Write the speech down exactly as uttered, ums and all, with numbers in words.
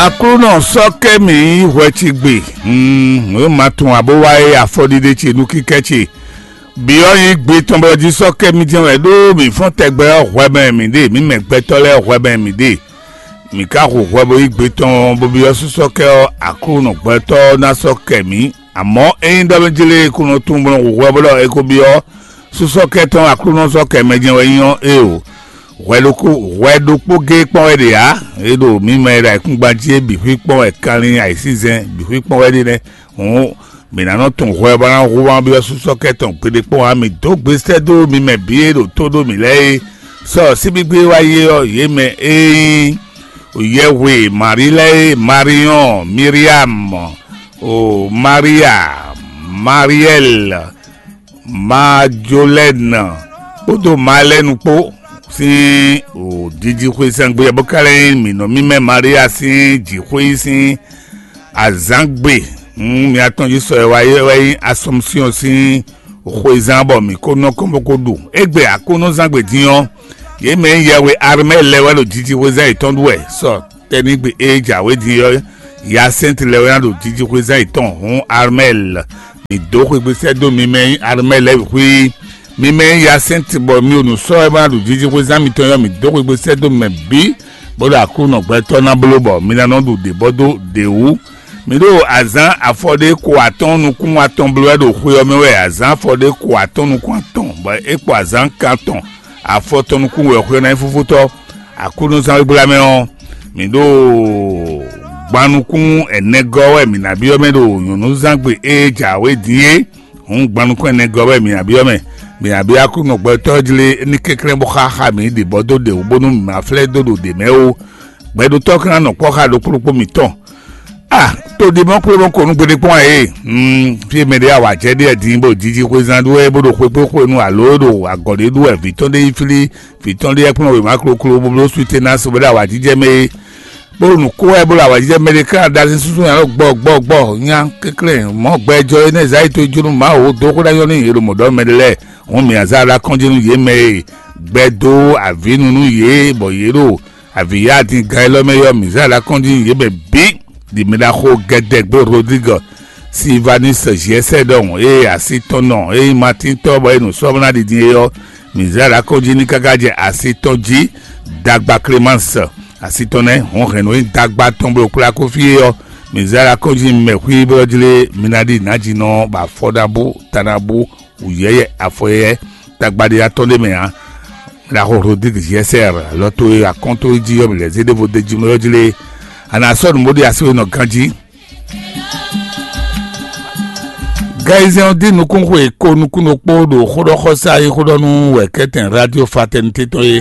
Aklúnɔ sɔ́ kɛ mì nyí hwɛ ce gbe, nǔ e ma tunwun ǎ bó wá é afɔɖiɖe ce nú kíkɛ́ ce. Byɔ́ nyí gbe tɔn bɔ jí sɔ́ kɛ mì jɛ́n wɛ ɖó mǐ fɔ́n tɛgbɛ ɔ́ hwɛ mɛ mǐ ɖe, mǐ mɛ gbɛtɔ́ lɛ́ɛ hwɛ mɛ mǐ ɖe. Mǐ ka hu hwɛ bó yí gbe tɔn bó byɔ́ sú sɔ́ kɛ ɔ́, Aklúnɔ gbɛtɔ́ ɔ́ ná sɔ́ kɛ mǐ. Amɔ̌ ényí ɖɔ mɛ jlé e kún nɔ tunwun bó nɔ hu hwɛ bó ɖɔ é ko byɔ́ sú sɔ́ kɛ tɔn Aklúnɔ sɔ́ kɛ mɛ jɛ́n wɛ nyí ɔ́, éeǒ. Hwɛ ɖokpó hwɛ ɖokpó géé kpɔ́n wɛ ɖe ǎ. É ɖo mǐ mɛ e ɖo ayǐkúngban jí é bǐ xwí kpɔ́n wɛ kanlin ayǐsízɛ́n bǐ xwí kpɔ́n wɛ ɖe nɛ́. Hǔn mǐ ná nɔ tunwun hwɛ bó ná hu wá byɔ́ sú sɔ́ kɛ tɔn gbeɖé kpɔ́n ǎ. Mǐ dó gbe sɛ́ dó mi mɛ bǐ e ɖo tó ɖó mǐ lɛ́ɛ é. Sɔ síbígbé wá yé ɔ́, yě mɛ e nyí yɛhwe Marí lɛ́ɛ é, Mariɔn, Miriam, o Maria, Mariɛl, Majolɛ́n kpódó Malɛ́nu kpó sín o jijixwezán gbe ɔ́, bó ka lɛ́ nyí mǐ nɔ mímɛ́ Maria sín jǐxwé sín azǎngbe. Hǔn mǐ atɔn jí sɔ e wá yɛ wɛ nyí Asɔmsyɔn sín xwezán bɔ mǐ ko nɔ kɔn bó ko ɖu. Égbé Aklúnɔzángbe dín ɔ́, yě mɛ e nyí yɛhwe Armɛ́ɛ lɛ́ɛ wɛ ɖo jijixwezán yětɔn ɖu wɛ sɔ tɛ́nigbe e jǎwe din ɔ́, Yasɛ́nti lɛ́ɛ wɛ ná ɖo jijixwezán yětɔn. Hǔn Armɛ́ɛ, mǐ dó xwegbe sɛ́ dó mi mɛ e nyí Armɛ́ɛ lɛ́ɛ bǐ xwí. Mi mɛ e nyí Yasɛ́nti bɔ mi ɖo nǔ sɔ́ wɛ bó ná ɖu jijixwezán mitɔn ɔ́, mǐ dó xwegbe sɛ́ dó mi mɛ bǐ, bó ɖo Aklúnɔ gbɛtɔ́ ná bló bɔ mi ná nɔ ɖu ɖě bɔ dó ɖě wú. Mǐ ɖo azǎn afɔɖé ko atɔ́ɔ́n nukún atɔn bló wɛ ɖo xwe ɔ́ mɛ wɛ, azǎn afɔɖé ko atɔ́ɔ́n nukún atɔn, bɔ é kpo azǎn kan tɔn afɔtɔn nukún wɛ xwe ɔ́ ná nyí fúfútɔ́. Aklúnɔzán gbla mɛ ɔ́, mǐ ɖo gban nukún ɛnɛgɔ́ wɛ mǐ ná byɔ́ mɛ ɖo nyɔ̌nuzángbe e jǎwe din é. Hǔn gban nukún ɛnɛgɔ́ wɛ mǐ ná byɔ́ mɛ. Mǐ ná byɔ́ Aklúnɔ gbɛtɔ́ jlé ní kɛnklɛ́n bó xá xá mǐ ɖě bɔ dó ɖě wú bónú mǐ ma flɛ́ dó ɖo ɖě mɛ ó. Gbɛɖotɔ́ ka ná nɔ kpɔ́ xá ɖokpó ɖokpó mǐtɔn. A to ɖi mɔ kplé mɔ ko nú gbeɖé kpɔ́n ɛ. Fí e mɛ ɖé awǎ jɛ ɖe din bó jiji xwezán ɖu wɛ bó ɖo xwekpé xwenu alo ɖo agɔ̌ ɖé ɖu wɛ vǐ tɔn ɖé yi flí, vǐ tɔn ɖé yɛ kplɔ́n wěma kloklo bó bló suite ná so bó ɖo awǎjijɛ mɛ é. Bó ɖo nǔ kó wɛ bó ɖo awǎjijɛ mɛ ɖé ká ɖo azin súnsún nyanɔ gbɔ gbɔ gbɔ nya kɛnklɛ́n mɔ̌ gbɛjɔ énɛ́ Ezayíi tó jó nú Mawu dó xó ɖ'ayɔ́ nú yě ɖo mɔ̌ ɖɔ mɛ ɖé lɛ́ɛ. Hǔn mǐ ná zá ɖo akɔ́njí nú yě mɛ e gbɛ dó avǐnu nú yě bɔ yě ɖo avǐyá din gan élɔ́ mɛ yɔ́ mǐ zá ɖo akɔ́njí nú yě mɛ bǐ. Ɖi mɛ ɖaxó gɛdɛgbé Rodrigue Silvanus Giɛsɛ ɖɔhun eye asi tɔn nɔ eye Matín tɔ́ bɔ é nǔ sɔ́ ná ɖi din é ɔ́, mǐ zá ɖo akɔ́njí ní káká jɛ asi tɔn jí. Dagba Clémence asi tɔn nɛ́ hɔn hɛn nǔ e dagba tɔn bló kplá kó fí é ɔ́, mǐ zá ɖo akɔ́njí mɛ xwí bɔ jlé mi ná ɖi nǎjínɔ bɔ afɔɖabu tanabu wǔyɛ́yɛ́ afɔyɛ́yɛ́ tagbaɖiɖa tɔn ɖé mɛ ǎ. Ɖaxó Rodrigue Giɛsɛ lɔ to e akɔ́n tó jí ɔ́, mǐ lɛ́ zé ɖěvo d'é jí mɔ ɔ́ jlé. A nǎ sɔ́ nǔ bó ɖi así we nɔ ganjí. Gayizɛn ɔ́ dín nukúnxwe ko nukúnnukpó ɖo xóɖɔxɔsá e xó ɖɔ nú wɛ̌kɛ́tɛn Radio Fraternité tɔn é.